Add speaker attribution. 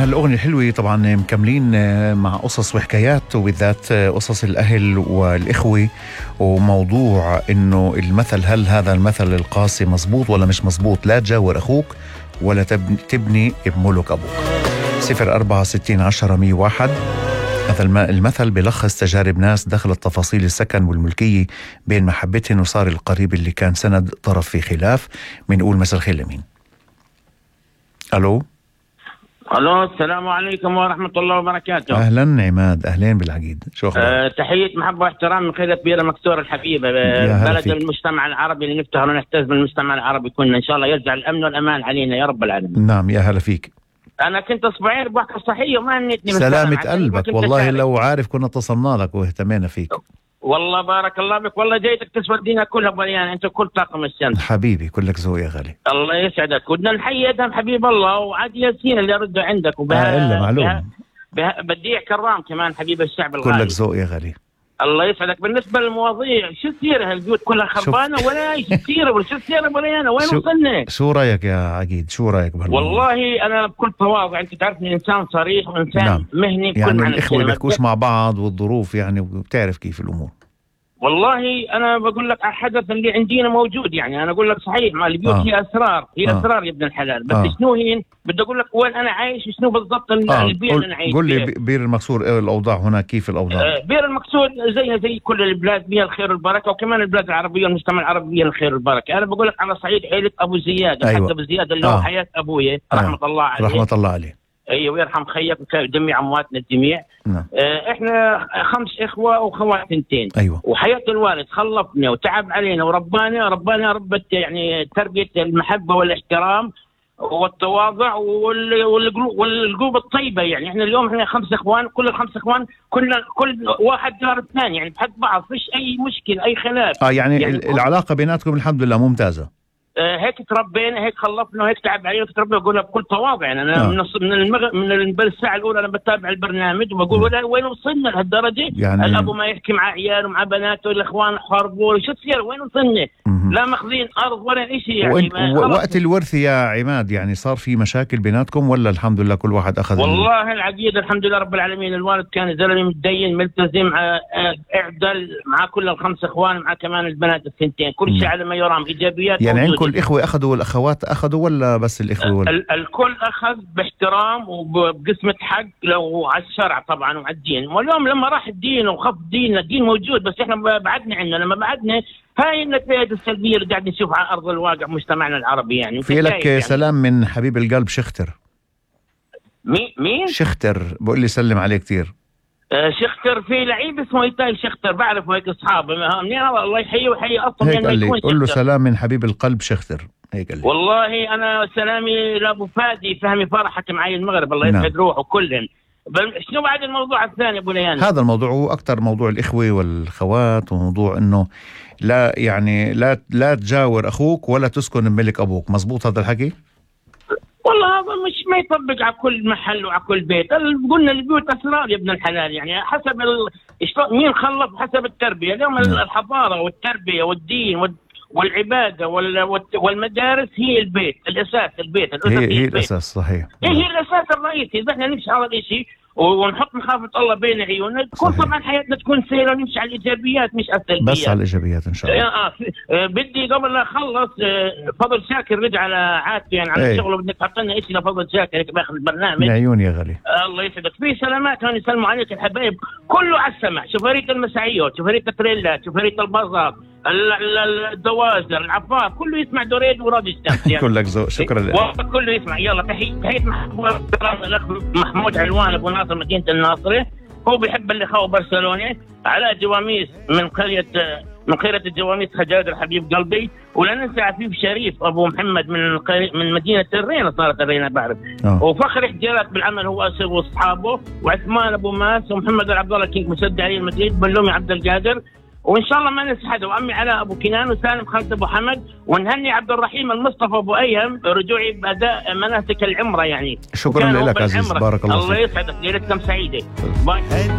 Speaker 1: هالأغنية الحلوة طبعا مكملين مع قصص وحكايات، وبالذات قصص الأهل والإخوة، وموضوع إنه المثل، هل هذا المثل القاسي مزبوط ولا مش مزبوط؟ لا تجاور أخوك ولا تبني بملك أبوك. 04601001. هذا المثل بلخص تجارب ناس دخلت تفاصيل السكن والملكية بين محبتهن، وصار القريب اللي كان سند طرف في خلاف. بنقول مساء الخير لمين؟ ألو،
Speaker 2: السلام عليكم ورحمة الله وبركاته.
Speaker 1: أهلا عماد، أهلين بالعقيد، شو أخبارك؟
Speaker 2: تحية محبة واحترام من خيرة كبيرة مكسور الحبيبة، بلد المجتمع العربي اللي نفتخر ونحتز بالمجتمع العربي كلنا إن شاء الله، يرجع الأمن والأمان علينا يا رب العالمين.
Speaker 1: نعم، يا هلا فيك.
Speaker 2: أنا كنت أسبوعين بحكي صحية وما نتني.
Speaker 1: سلامة قلبك، والله لو عارف كنا اتصلنا لك واهتمينا فيك.
Speaker 2: والله بارك الله بك، والله جيتك تسودينا كلها بليان، انت كل طاقم الشمس
Speaker 1: حبيبي، كلك ذوق يا غالي.
Speaker 2: الله يسعدك، ودنا نحيي ادهم حبيب الله وعاد ياسين اللي رده عندك
Speaker 1: إلا معلوم.
Speaker 2: بديع كرام كمان حبيب الشعب الغالي.
Speaker 1: كلك ذوق يا غالي.
Speaker 2: الله يسعدك. بالنسبه للمواضيع، شو السيره هالبيوت كلها خربانه ولا ايش السيره ولا شو السيره بليانه؟ وين وصلنا؟
Speaker 1: شو رايك يا عقيد؟ شو رايك بهالموضوع؟
Speaker 2: والله انا بكل تواضع، انت تعرفني انسان صريح وانسان
Speaker 1: نعم.
Speaker 2: مهني،
Speaker 1: يعني الاخوه بيحكوش مع بعض والظروف يعني، وبتعرف كيف الامور.
Speaker 2: والله انا بقول لك على الحدث اللي عندنا موجود، يعني انا اقول لك صحيح ما البيوت هي اسرار، هي اسرار يا ابن الحلال، بس شنو هي؟ بدي اقول لك وين انا عايش وشنو بالضبط البيئه اللي انا عايش.
Speaker 1: قول لي بير المكسور الاوضاع هناك كيف الاوضاع؟
Speaker 2: بير المكسور زي كل البلاد بها الخير والبركه، وكمان البلاد العربيه والمجتمع العربي بها الخير والبركه. انا بقول لك على صعيد عيله ابو زياد.
Speaker 1: أيوة.
Speaker 2: حتى ابو زياد اللي هو حياه ابويا رحمه الله عليه.
Speaker 1: رحمه الله عليه.
Speaker 2: ايوه، ويرحم خيك وجميع امواتنا الجميع.
Speaker 1: نعم.
Speaker 2: احنا 5 اخوه واخوات 2.
Speaker 1: ايوه.
Speaker 2: وحياه الوالد خلفنا وتعب علينا وربانا ربت يعني تربيه المحبه والاحترام والتواضع والقلوب الطيبه. يعني احنا اليوم احنا 5 اخوان، كل ال5 اخوان كل واحد جار الثاني، يعني بحد بعض، فيش اي مشكله اي خلاف.
Speaker 1: يعني العلاقه بيناتكم الحمد لله ممتازه.
Speaker 2: هيك تربينا، هيك خلفنا، وهيك تعب علينا وتربينا. بقولها بكل تواضع، يعني انا من الساعه الاولى انا بتابع البرنامج وبقول وين وصلنا لهالدرجه؟ يعني الاب ما يحكي مع عياله ومع بناته، الاخوان حاربوا، شو تصير؟ وين وصلنا؟ لا ماخذين ارض ولا شيء. يعني
Speaker 1: وقت الورث يا عماد، يعني صار في مشاكل بيناتكم ولا الحمد لله كل واحد اخذ؟
Speaker 2: والله العقيده الحمد لله رب العالمين. الوالد كان زلمه متدين ملتزم اعدل مع كل ال5 اخوان، مع كمان البنات ال2، كل شيء على ما يرام، ايجابيات.
Speaker 1: يعني كل الإخوة أخذوا والأخوات أخذوا ولا بس الإخوة؟
Speaker 2: الكل أخذ باحترام وبقسمة حق، لو على الشرع طبعا وعلى الدين. واليوم لما راح الدين وخف ديننا، الدين موجود بس إحنا بعدنا عنه. لما بعدنا هاي النتائج السلبية اللي قاعد نشوف على أرض الواقع مجتمعنا العربي. يعني
Speaker 1: في لك يعني سلام من حبيب القلب شختر.
Speaker 2: مين؟
Speaker 1: شختر بقول لي سلم عليه كتير.
Speaker 2: شختر في لعيب اسمه إيتاي شختر، بعرفه هيك أصحابه منين، الله يحييه ويحيي أصلا.
Speaker 1: هيك قال لي قول له سلام من حبيب القلب شختر، هيك قال لي.
Speaker 2: والله أنا سلامي لأبو فادي فهمي فرحك معي المغرب، الله يسعد روحه كلهم. شنو بعد الموضوع الثاني أبو ليان؟
Speaker 1: هذا الموضوع هو أكثر موضوع الإخوة والخوات، وموضوع إنه لا يعني لا تجاور أخوك ولا تسكن بملك أبوك. مزبوط هذا الحكي؟
Speaker 2: والله هذا مش ما يطبق على كل محل وعلى كل بيت. قلنا البيوت أسرار يا ابن الحلال، يعني حسب مين خلف حسب التربية. اليوم الحضارة والتربية والدين والعبادة والمدارس هي البيت، الأساس البيت،
Speaker 1: هي الأساس صحيح.
Speaker 2: هي الأساس الرئيسي. إذا احنا نمشي على الشيء ونحط مخافة الله بين عيوننا، تكون طبعا حياتنا تكون سهلة ونمشي على الإيجابيات مش على السلبيات.
Speaker 1: بس على الإيجابيات إن شاء الله.
Speaker 2: بدي قبل لا أخلص، فضل شاكر رجع على عادته، يعني على شغله. بدك تحط لنا شيء لفضل شاكر هيك باخذ البرنامج.
Speaker 1: من عيوني يا غالي.
Speaker 2: الله يسعدك. في سلامات هون يسلموا عليك الحبايب كله على السمع. شوفرية المساعيات، شوفرية التريلات، شوفرية البازار، الدوازر، العفار، كله يسمع دوريد وراد الشمس. يعني
Speaker 1: كلك ذوق، شكرا لك.
Speaker 2: كله يسمع. يلا تحية محمود علوان ابو ناصر مدينة الناصرة، هو بيحب الاخوة برشلونة. علاء جواميس من خيرة الجواميس خجاجر حبيب قلبي. ولا ننسى عفيف شريف ابو محمد من مدينة الرينة، صارت الرينة بعرف. وفخر حجارات بالعمل هو اسر واصحابه، وعثمان ابو ماس، ومحمد عبد الله كينج مسد علي المدريد، بلومي عبد القادر، وان شاء الله ما ننسى حدا، وامي علاء ابو كنان، وسالم خالد ابو حمد، ونهني عبد الرحيم المصطفى ابو ايهم رجوعي باداء مناسك العمره. يعني
Speaker 1: شكرا لك عزيز، بارك الله فيك.
Speaker 2: الله يسعدك، ليلتكم سعيده. باي.